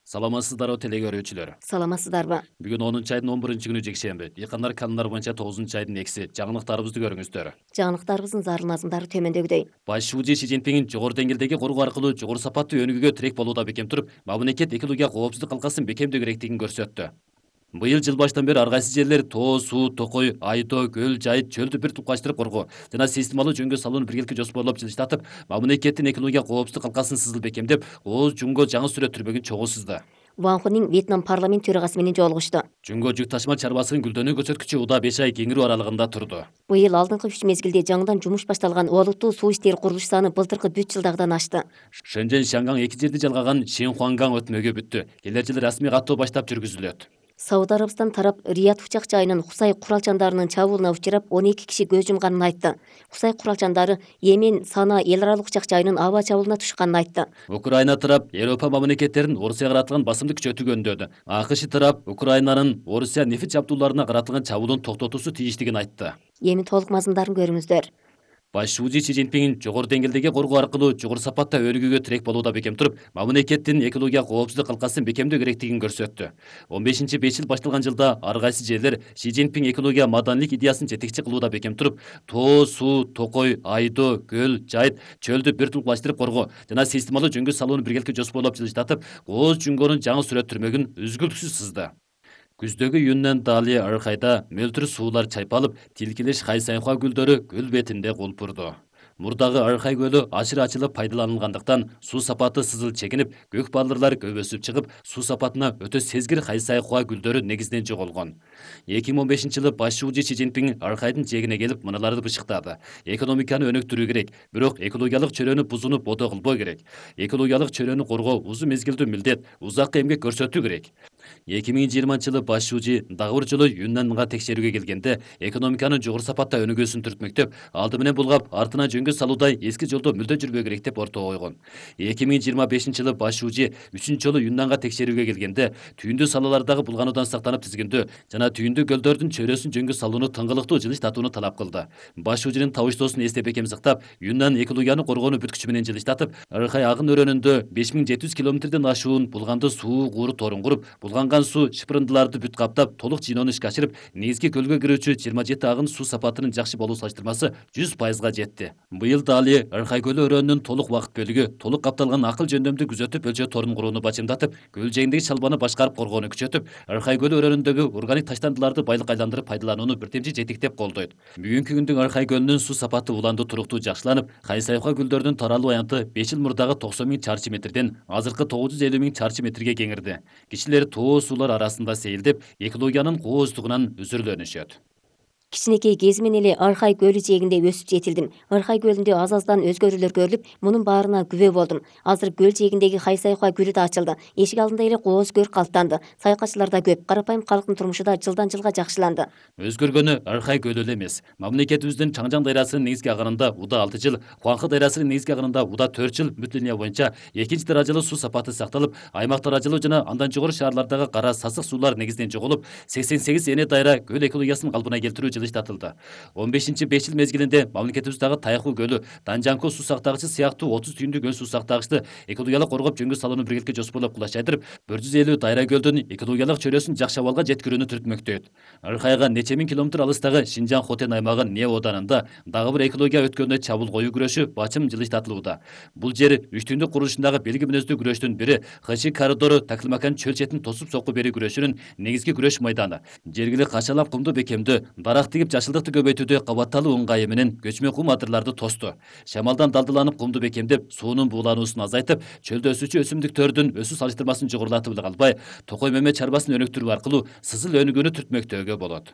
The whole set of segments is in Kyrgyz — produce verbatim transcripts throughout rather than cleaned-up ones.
Саламатсыздарбы теле көрүүчүлөр. Саламатсыздарбы? Бүгүн онунчу айдын он биринчи күнү жекшемби. Дыйкандар канундар боюнча тогузунчу айдын экиси. Жаңылыктарыбызды көрүңүздөр. Жаңылыктарыбыздын зарыл мазмундары төмөндөгүдөй. Баш шуужи Си Цзиньпин жогору деңгээлдеги коргоо аркылуу жогору сапаттуу өнүгүүгө тирек болууда бекем туруп, мамлекет экология коопсуздук калкасын бекемдөө керектигин көрсөттү. Быйыл жыл баштан бери ар кайсы жерлер тоо, суу, токой, айдоо, көл, жайыт, чөлдү бир туплаштырып коргоо жана системалуу жөнгө салууну биргеликте жоспорлоп жылыштатып, мамлекеттин экология коопсуздук калкасын сызыл бекемдеп, ооз жумго жаңы сүрөт түрмөгүн чогуу сызды. Ван Хунин Вьетнам парламент төрагасы менен жолугушту. Жөнгө жүк ташыма чарбасынын гүлдөнүү көрсөткүчү уда беш ай кеңирүү аралыгында турду. Быйыл алдыңкы үч мезгилде жаңыдан жумуш башталган олуттуу суу иштери курулуш саны былтыркы бүт жылдагыдан ашты. Шэнжэн Шанган эки жерди жалгаган Шинхуанган өтмөгү бүттү. Келер жылы расмий каттоо баштап жүргүзүлөт. Сауд Арабистан тарап Рият учак жайынын Хусай куралчандарынын чабуулуна учурап он эки киши көз жумганын айтты. Хусай куралчандары Йемен Сана эл аралык учак жайынын аба чабуулуна тушканын айтты. Украина тарап Европа мамлекеттерин Орусияга каратылган басымды күчөтүүгө үндөдү. АКШ тарап Украинанын Орусия нефть жабдууларына каратылган чабуулун токтотуусу тийиштигин айтты. Эми толук мазмундарын көрүңүздөр. Баш шуужи Си Цзиньпин жогору деңгээлдеги коргоо аркылуу жогору сапатта өнүгүүгө тирек болууда бекем туруп, мамлекеттин экология коопсуздук калкасын бекемдөө керектигин көрсөттү. он бешинчи беш жыл башталган жылда ар кайсы жерлер Си Цзиньпин экология маданилик идеясын жетекчи кылууда бекем туруп, тоо, суу, токой, айдоо, көл, жайыт, чөлдү бир туплаштырып коргоо жана системалуу жөнгө салууну биргеликте жоспорлоп жылыштатып, ооз жуңгонун жаңы сүрөт түрмөгүн үзгүлтүксүз сызды. Күздөгү Юннан Дали аркайда мөлтүр суулар чайпалып, тилкелеш Хайсайхуа гүлдөрү көл бетинде кулпурду. Мурдагы Аркай көлү ашыр ачылып пайдаланылгандыктан суу сапаты сызыл чегинип, көк балдырлар көп өсүп чыгып, суу сапатына өтө сезгир Хайсайхуа гүлдөрү негизден жоголгон. эки миң он бешинчи жылы баш шуужи Си Цзиньпин Аркайдын жээгине келип мыналарды бышыктады. Экономиканы өнүктүрүү керек, бирок экологиялык чөйрөнү бузууну бодо кылбоо керек. Экологиялык чөйрөнү коргоо узун мезгилдүү милдет, узаккы эмгек көрсөтүү керек. эки миң жыйырманчы жылы баш шуужи дагы бир жолу Юннанга текшерүүгө келгенде, экономиканын жогору сапатта өнүгүүсүн түртмөктөп, алды менен булгап, артына жөнгө салуудай эски жолдо мүлдө жүрбөө керек деп ортого койгон. эки миң жыйырма бешинчи жылы баш шуужи үчүнчү жолу Юннанга текшерүүгө келгенде, түйүндүү салалардагы булгануудан сактанып тизгиндүү жана түйүндүү көлдөрдүн чөйрөсүн жөнгө салууну тыңгылыктуу жылыштатууну талап кылды. Баш шуужинин табыштоосун эстеп бекем сактап, Юннан экологияны коргоону бүткүчү менен жылыштатып, Аркай агын өрөөнүндө беш миң жети жүз километрден ашуун булганды суу кууру торун куруп, булганган суу шыпырындыларды бүт каптап, толук жыйноону ишке ашырып, негизги көлгө кирүүчү жыйырма жети агын суу сапатынын жакшы болуу салыштырмасы жүз пайызга жетти. Быйыл Дали Аркай көлү өрөөнүнүн толук убакыт бөлүгү толук капталган акыл жөндөмдү күзөтүп өлчөө торун курууну бачымдатып, көл жээгиндеги чалбаны башкарып коргоону күчөтүп, Аркай көлү өрөөнүндөгү органик таштандыларды байлык айландырып пайдаланууну бирдемчи жетектеп колдойт. Бүгүнкү күндүн Аркай көлүнүн суу сапаты уланды туруктуу жакшыланып, Хайсайхуа гүлдөрүнүн таралуу аянты беш жыл мурдагы токсон миң чарчы метрден азыркы тогуз жүз элүү миң чарчы метрге кеңирди. Кишилер тоо суулар арасында сейилдеп, экологиянын кооздугунан үзүрлөнүшөт. Кичинекей кезимен эле Аркай көлү жээгинде өсүп жетилдим. Аркай көлүндө аз-аздан өзгөрүүлөр көрүлүп, мунун баарына күбө болдум. Азыр көл жээгиндеги Хайсайхуа гүлү да ачылды. Эшик алдында эле кооз көр калктанды. Саякатчылар да көп. Карапайым калктын турмушу да жылдан жылга жакшыланды. Өзгөргөнү Аркай көлү эле эмес. Мамлекетибиздин Чаңжаң дайрасынын негизги агынында уда алты жыл, Хуанхэ дайрасынын негизги агынында уда төрт жыл бүт линия боюнча экинчи даражалуу суу сапаты сакталып, аймак даражалуу жана андан жогору шаарлардагы кара сасык суулар негизден жоголуп, сексен сегиз эне дайра көл экологиясын калпына келтирүү жылыштатылды. он бешинчи беш жыл мезгилинде мамлекетибиздагы Тайху көлү, Данжанко суу сактагычы сыяктуу отуз түйүндүү көл суу сактагычты экологиялык коргоп жөнгө салууну биргеликте жоспорлоп кулаш айтырып, бир жүз элүү дайра көлдүн экологиялык чөйрөсүн жакшы абалга жеткирүүнү түртмөктөйт. Аркайга нече миң километр алыстагы Шинжаң Хотен аймагы Не оданында дагы бир экология өткөнүнө чабуул коюу күрөшү бачым жылыштатылууда. Бул жер үч түйүндүк курулушундагы белги мүнөздүү күрөштүн бири Хычи коридору Такылмакан чөл четин тосуп сокку берүү күрөшүнүн негизги күрөш майданы. Жергиликтүү качалап кумду бекемдөө, дарак тигип жашылдыкты көбөйтүүдө кабатталуу ыңгайы менен көчмө кум адырларды тосту. Шамалдан далдыланып кумду бекемдеп, суунун буулануусун азайтып, чөлдө өсүүчү өсүмдүктөрдүн өсүү салыштырмасын жогорулатып эле калбай, Токой мөмө чарбасын өнүктүрүү аркылуу сызыл өнүгүүнү түртмөктөөгө болот.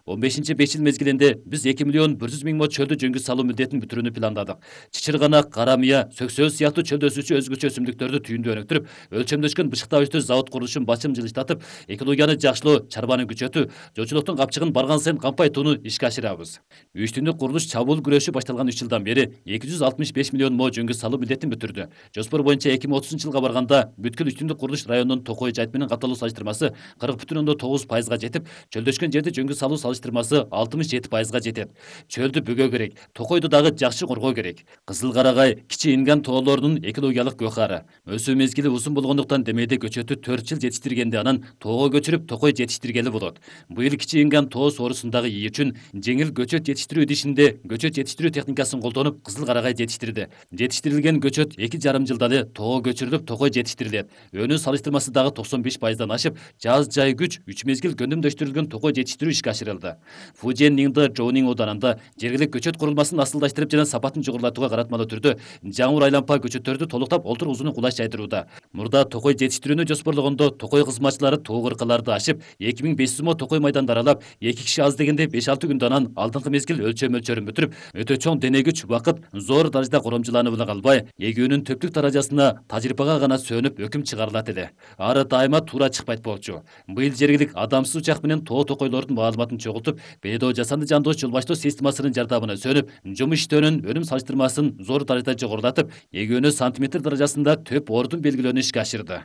он бешинчи беш жыл мезгилинде биз эки миллион бир жүз миң мо чөлдү жөнгө салуу милдетин бүтүрүүнү пландадык. Чычырганак, карамыя, сөксөз сыяктуу чөлдө өсүүчү өзгөчө өсүмдүктөрдү түйүндү өнүктүрүп, өлчөмдөшкөн бышыктагычтуу завод курулушун бачым жылыштатып, экологияны жакшылоо, чарбаны күчөтүү, жоочулуктун капчыгын барган сайын кампайтууну ишке ашырабыз. үч түндүк курулуш чабуул күрөшү башталган үч жылдан бери эки жүз алтымыш беш миллион мо жөнгө салуу милдетин бүтүрдү. Жоспор боюнча эки миң отузунчу жылга барганда бүткүл үч түндүк курулуш районунун Токой жайыт менен капталуу салыштырмасы кырк бүтүн ондон тогуз пайызга жетип, чөлдөшкөн жерди жөнгө салуу салыштырмасы алтымыш жети пайызга жетет. Чөлдү бөгөө керек, токойду дагы жакшы коргоо керек. Кызыл карагай кичи инган тоолордун экологиялык гөкары. Өсүү мезгили узун болгондуктан демейде көчөтү төрт жыл жетиштиргенде анан тоого көчүрүп токой жетиштиргели болот. Быйыл кичи инган тоо соорусундагы ии үчүн жеңил көчөт жетиштирүү идишинде көчөт жетиштирүү техникасын колдонуп кызыл карагай жетиштирди. Жетиштирилген көчөт эки жарым жылда эле тоого көчүрүлүп токой жетиштирилет. Өнүү салыштырмасы дагы токсон беш пайыздан ашып, жаз жай күч үч мезгил көндүмдөштүрүлгөн токой жетиштирүү ишке ашырылды. Фужен Нingdi Жоонин ооданында жергилик көчөт курулмасын асылдаштырып жана сапатын жогорулатууга каратмалуу түрдө жаңур айлампа көчөттөрдү толуктап олтур-узуну кулаш жайдырууда. Мурда токой жетиштирүүнү жоспорлогондо токой кызматчылары тоо кыркаларды ашып, эки миң беш жүз мо токой майданды аралап, эки киши аз дегенде беш алты күндөн анан алдыңкы мезгил өлчөм мөлчөрүн бүтүрүп, өтө чоң дене күч, убакыт зор даражада коромжуланып эле калбай, эгүүнүн төптүк даражасына тажрыйбага гана сөнүп өкүм чыгарылат эле. Ары дайыма туура чыкпайт болчу. Быйыл жергилик адамсыз учак менен тоо токойлордун маалыматын чогултуп, бедоо жасанды жандоош жол баштоо системасынын жардамына сөнүп, жумуш иштөөнүн өнүм салыштырмасын зор даражада жогорулатып, эгүүнү сантиметр даражасында төп ордун белгилөөнү ишке ашырды.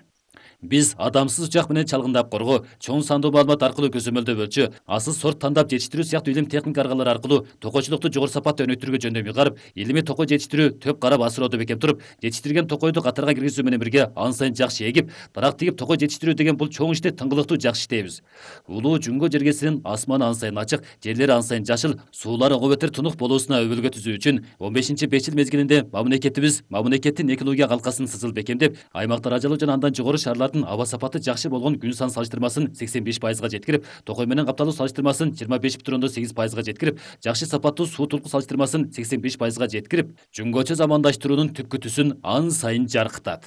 Биз адамсыз учак менен чалгындап коргоо, чоң сандуу маалымат аркылуу көзөмөлдөп өлчөө, асыл сорт тандап жетиштирүү сыяктуу илим техника аргалары аркылуу токойчулукту жогору сапатта өнүктүрүүгө жөндөм ыйгарып, илимий токой жетиштирүү төп карап асыроодо бекем туруп, жетиштирген токойду катарга киргизүү менен бирге ан сайын жакшы эгип, дарак тигип токой жетиштирүү деген бул чоң ишти тыңгылыктуу жакшы иштейбиз. Улуу Жүнгө жергесинин асманы ан сайын ачык, жерлери ан сайын жашыл, суулары ого бетер тунук болуусуна өбөлгө түзүү үчүн он бешинчи беш жыл мезгилинде мамлекетибиз мамлекеттин экология калкасын сызыл бекемдеп, аймактар ажалуу жана андан жогору шаарлардын аба сапаты жакшы болгон күн сан салыштырмасын сексен беш пайызга жеткирип, токой менен капталуу салыштырмасын жыйырма беш бүтүн ондон сегиз пайызга жеткирип, жакшы сапаттуу суу турку салыштырмасын сексен беш пайызга жеткирип, Жүнгөчө замандаштыруунун түпкү түсүн ан сайын жаркытат.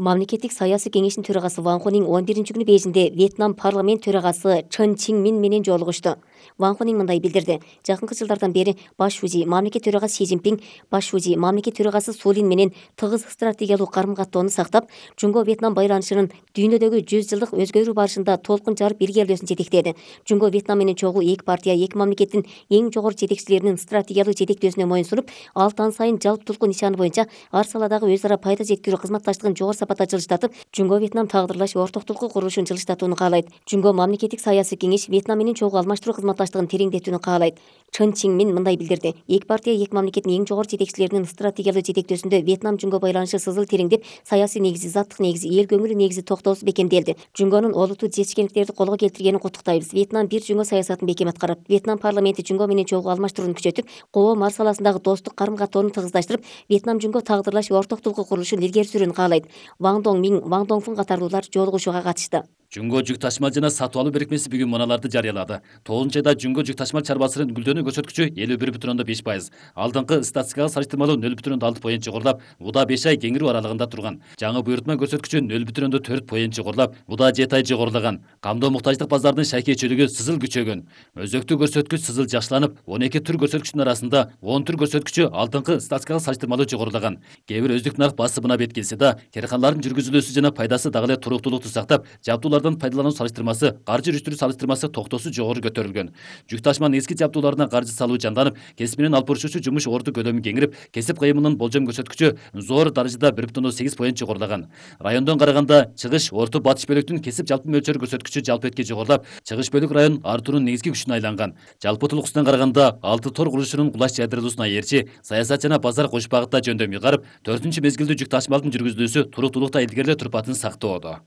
Мамлекеттик саясий кеңештин төрагасы Ван Хунин он биринчи күнү Бейжиңде Вьетнам парламент төрагасы Чын Чиңмин менен жолугушту. Ван Хунин мындай билдирди: жакынкы жылдардан бери баш шужи мамлекет төрагасы Си Цзиньпин баш шужи мамлекет төрагасы Су Лин менен тыгыз стратегиялык карым-каттоону сактап, Жүнгө Вьетнам байланышынын дүйнөдөгү жүз жылдык өзгөрүү барышында толкун жарып илгерилөөсүн жетектеди. Жүнгө Вьетнам менен чогуу эки партия эки мамлекеттин эң жогору жетекчилеринин стратегиялык жетектөөсүнө моюнсунуп, ал таң сайын жалптулку нишаны боюнча ар саладагы өз ара пайда жеткирүү кызматташтыгын жогору сапатта жылыштатып, Жүнгө Вьетнам тагдырлаш ортоктулуку курулушун жылыштатууну каалайт. Жүнгө мамлекеттик саясий кеңеш Вьетнам менен чогуу алмаштыруу кызматташтыгын тереңдетүүнү каалайт. Чын Чиңмин мындай билдирди: эки партия эки мамлекеттин эң жогору жетекчилеринин стратегиялык жетектөөсүндө Вьетнам Жүнгө байланышы сызыл тереңдеп, саясий негизи, заттык негизи, эл көңүлү негизи токтоосу бекемделди. Жүнгөнүн олуттуу жетишкендиктерди колго келтиргенин куттуктайбыз. Вьетнам бир Жүнгө саясатын бекем аткарат. Вьетнам парламенти Жүнгө менен чогуу алмаштырууну күчөтүп, коом ар саласындагы достук карым-каттоону тыгыздаштырып, Вьетнам Жүнгө тагдырлаш ортоктулуку курулушун илгери сүрүүнү каалайт. Ван Дong Мин, Ван Донгфун катарлуулар жолугушууга катышты. Жүнгө жүк ташмал жана сатып алуу бирикмеси бүгүн муналарды жарыялады. тогузунчу айда Жүнгө жүк ташмал чарбасынын гүлдөнүү көрсөткүчү элүү бир бүтүн ондон беш пайыз. Алдыңкы статистикага салыштырмалуу нөл бүтүн ондон алты поинт жогорулап, буда беш ай кеңирүү аралыгында турган. Жаңы буйрутма көрсөткүчү нөл бүтүн ондон төрт поинт жогорулап, буда жети ай жогорулаган. Камдоо муктаждык базарынын шайкейчилиги сызыл күчөгөн. Өзөктүү көрсөткүч сызыл жакшыланып, он эки түр көрсөткүчүнүн арасында он түр көрсөткүчү алдыңкы статистикага салыштырмалуу жогорулаган. Кээ бир өздүк нарк басымына бет келсе да, карканалардын жүргүзүлүүсү жана пайдасы дагы эле туруктуулукту сактап, жабдуулардан пайдалануу каржы жүрүштүрүү салыштырмасы токтоосу жогору көтөрүлгөн. Жүк ташманын эски жабдууларына каржы салуу жанданып, кесип менен алып барышуучу жумуш орду көлөмү кеңирип, кесип кыймылынын болжом көрсөткүчү зор даражада бир бүтүн ондон сегиз поинт жогорулаган. Райондон караганда чыгыш орто батыш бөлүктүн кесип жалпы мөлчөрү көрсөткүчү жалпы этке жогорулап, чыгыш бөлүк район артуунун негизги күчүнө айланган. Жалпы тулукусунан караганда алты тор курулушунун кулаш жайдырылуусуна ээрчи, саясат жана базар кош багытта жөндөм ыйгарып, төртүнчү мезгилдүү жүк ташмалдын жүргүзүлүүсү туруктуулукта илгерилөө турпатын сактоодо.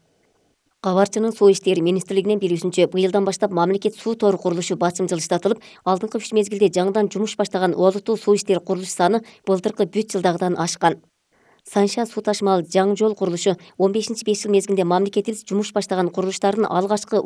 Кабарчынын Суу иштери министрлигинин билүүсүнчө, быйылдан баштап мамлекет суу тору курулушу басым жылыштатылып, алдыңкы үч мезгилде жаңыдан жумуш баштаган олуттуу суу иштери курулуш саны былтыркы бүт жылдагыдан ашкан. Санша суу ташмал жаңы жол курулушу он бешинчи беш жыл мезгилинде мамлекетибиз жумуш баштаган курулуштардын алгачкы